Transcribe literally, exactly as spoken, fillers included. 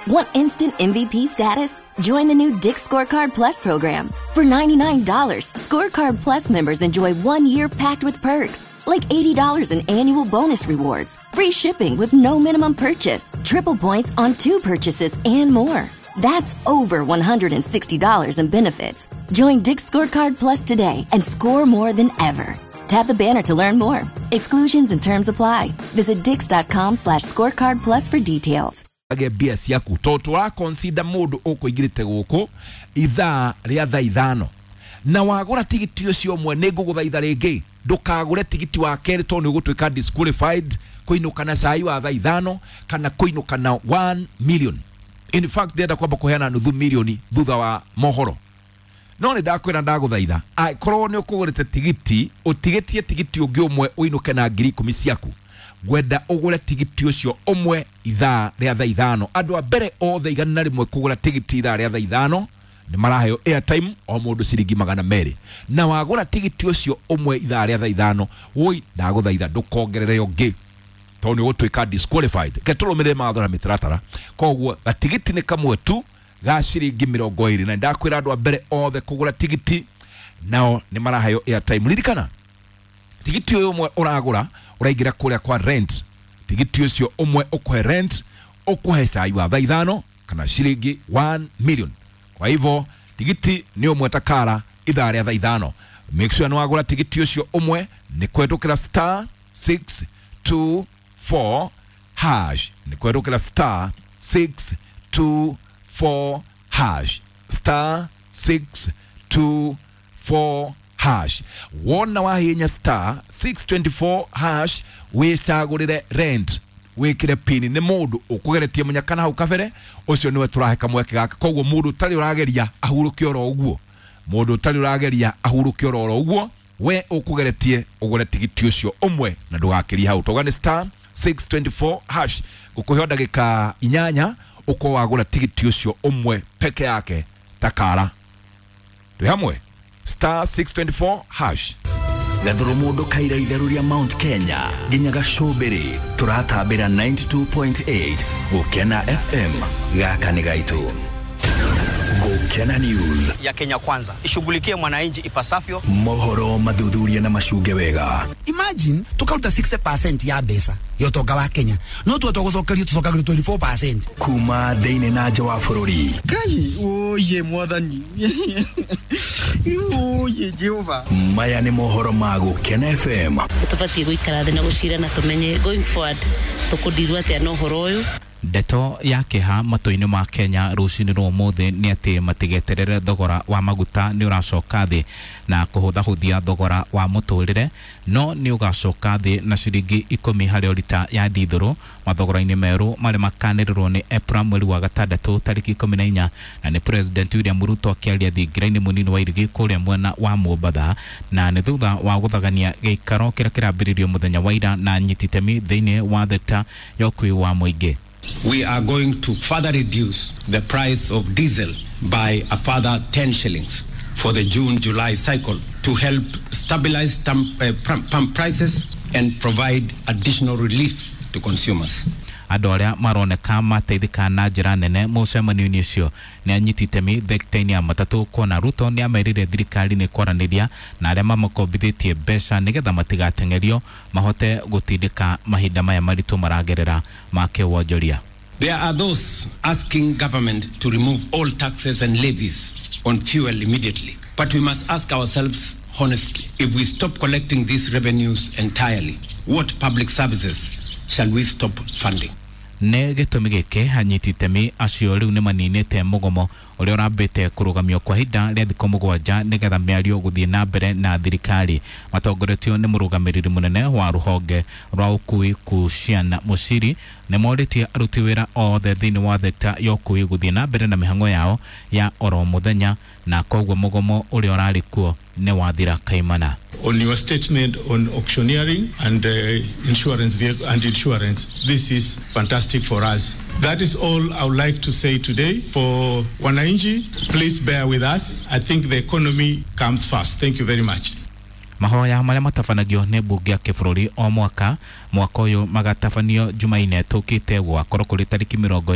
Want instant M V P status? Join the new Dick's Scorecard Plus program. For ninety-nine dollars, Scorecard Plus members enjoy one year packed with perks, like eighty dollars in annual bonus rewards, free shipping with no minimum purchase, triple points on two purchases, and more. That's over one hundred sixty dollars in benefits. Join Dick's Scorecard Plus today and score more than ever. Tap the banner to learn more. Exclusions and terms apply. Visit dicks.com slash scorecard plus for details. Age mbia ciaku to tũra consider mũndũ ũkũingĩrĩte gũkũ ithaa rĩa thaa ithano na wagũra tigiti ũcio ũmwe, nĩ ngũgũthaitha rĩngĩ ndũkagũre tigiti wa kerĩ tondũ nĩ ũgũtuĩka disqualified kũinũka na cai wa thaa ithano kana kũinũka na one million. In fact, ndĩrenda kwamba kũheana nuthu milioni thutha wa mohoro, no nĩ ndakwĩra ndagũthaitha angĩkorwo nĩ ũkũgũrĩte tigiti ũtigĩtie tigiti ũngĩ ũmwe ũinũke na ngiri ikũmi ciaku, ngwenda ũgũre tigiti ũcio ũmwe ithaa rĩa thaa ithano. Andũ a mbere othe igana rĩmwe kũgũra tigiti ithaa rĩa thaa ithano nĩ maraheo airtime o mũndũ ciringi magana merĩ, na wagũra tigiti ũcio ũmwe ithaa rĩa thaa ithano, woi ndagũthaitha ndũkongerere ũngĩ tondũ nĩ ũgũtuĩka disqualified. Reke tũrũmĩrĩre mawatho na mĩtaratara. Koguo gatigiti nĩ kamwe tu ga ciringi mĩrongo ĩrĩ, na ndakwĩra andũ a mbere othe kũgũra tigiti nao nĩ maraheo airtime. Ririkana tigiti ũyũ ũmwe ũragũra ũraingĩra kũrĩa kwa rent, tigiti ũcio ũmwe ũkũhe rent ũkũhe cai wa thaa ithano kana ciringi one million. Kwa hivyo tigiti nĩ ũmwe takara ithaa rĩa thaa ithano. Make sure nĩ wagũra tigiti ũcio ũmwe nĩ kũhetũkĩra star six two four hash, nĩ kũhetũkĩra star six two four hash, star six two four hash. Wona wahinya star six twenty-four hash wicagũrĩre rent wikire pini nĩ mũndũ ũkũgeretie mũnyaka na hau kabere, ũcio nĩwe tũrahe kamweke gaka. Koguo mũndũ ũtarĩ ũrageria ahurũke oro ũguo, mũndũ ũtarĩ ũrageria ahurũke oro ũguo, we ũkũgeretie ũgũre tigiti ũcio ũmwe na ndũgakĩrie hau. Tauga nĩ star six twenty-four hash, ngũkũhe ndagĩka inyanya ũkorwo wagũra tigiti ũcio ũmwe peke yake takara. Twĩ hamwe star six twenty-four hash. Gathuru mundu kaira itheru ria Mount Kenya nginya gacumbiri turatambira ninety-two point eight Gukena F M gaka ni gaitu. Gukena News ya Kenya Kwanza ishughulikie mwananchi ipasavyo. Mohoro mathuthuria na macunge wega. Imagine tukaruta sixty percent ya mbeca ya utonga wa Kenya no tuwe tũgũcokerio tũcokagĩrio twenty-four percent kuma thĩinĩ na nja wa bũrũri. Ngai oye mwathani oye Jehova. Maya nĩ mohoro ma Gukena F M. Tũbatiĩ gũikara thĩ na gũcira na tũmenye going forward tũkũndirwo atĩa na ũhoro ũyũ. Ndeto ya kĩeha matũ-inĩ ma Kenya rũcinĩ rwa ũmũthĩ nĩ atĩ matigeterere thogora wa maguta nĩ ũracoka thĩ na kũhũthahũthia thogora wa mũtũrĩre, no nĩ ũgacoka thĩ na ciringi ikũmi harĩ o rita ya ndithũrũ mathogora-inĩ merũ marĩa makanĩrĩrwo nĩ EPRA mweri wa gatandatũ tarĩki ikũmi na inya, na nĩ President William Ruto akĩaria thingira-inĩ mũnini wa Irigi kũrĩa mwena wa Mombatha, na nĩ thutha wa gũthagania gĩikaro kĩrĩa kĩrambĩrĩirio mũthenya wa ira na anyiti itemi thĩinĩ wa thekta ya ũkuui wa mũingĩ. We are going to further reduce the price of diesel by a further ten shillings for the June-July cycle to help stabilize pump prices and provide additional relief to consumers. Andũ arĩa maroneka mateithĩka na njĩra nene mũcemanio-inĩ ũcio nĩ anyiti itemi thekta-inĩ ya matatũ, kuona Ruto nĩ amerire thirikari nĩ kwaranĩria na arĩa mamakombithĩtie mbeca nĩgetha matigateng'erio mahote gũtindĩka mahinda maya maritũ maragerera ma kĩwonjoria. There are those asking government to remove all taxes and levies on fuel immediately. But we must ask ourselves honestly, if we stop collecting these revenues entirely, what public services shall we stop funding? Nĩ gĩtũmi gĩkĩ anyiti itemi acio rĩu nĩ maninĩte mũgomo ũrĩa ũrambĩte kũrũgamio kwa ihinda rĩa thikũ mũgwanja nĩgetha mĩario gũthiĩ na mbere na thirikari. Matongoretio nĩ mũrũgamĩrĩri mũnene wa rũhonge rwa ũkuui Kuciana Mũciri nĩ morĩtie aruti wĩra othe thĩinĩ wa thekta ya ũkuui gũthiĩ na mbere na mĩhang'o yao ya oro mũthenya, na koguo mũgomo ũrĩa ũrarĩ kuo nĩ wathira kaimana. On your statement on auctioneering and uh, insurance vehicle and insurance, this is fantastic for us. That is all I would like to say today. For wananchi, please bear with us. I think the economy comes first. Thank you very much. Mahoya marĩa matabanagio nĩ mbunge ya kĩbũrũri o mwaka mwaka ũyũ magatabanio Jumaine tũkĩte gũgakorwo kũrĩ tarĩki mĩrongo